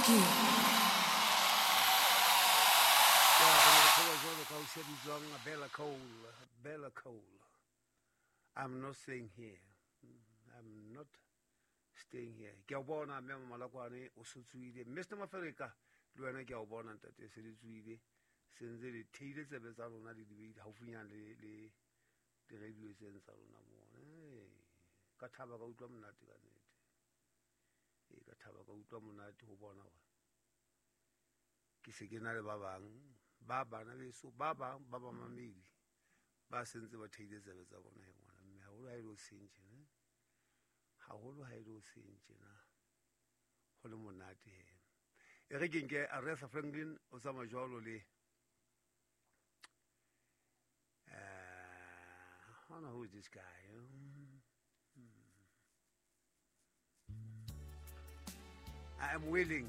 Thank you. Bella Cole, Bella Cole. I'm not staying here. I'm not staying here. Ke a o bona mme Malakwane o se tsoile. Mr. Mafereka le wena ke a o bona ntate se le tsoile. Se ntse le theile tsebe tsa lona le di beile haufinyana le le di-radio tseng tsa lona moo. Hey, ka thaba ka utlwa monate ka nnete. Ee, ka thaba ka utlwa monate ho bona hore ke se ke na le ba bang ba bana beso ba bang ba bamamedi ba sentse ba theile tsebe tsa bona he ngwana mme haholo ha e le o seng tjena haholo ha e le o seng tjena ho le monate he e re ke nke Aretha Franklin o tsamaya jwalo le I don't know who is this guy. I am willing.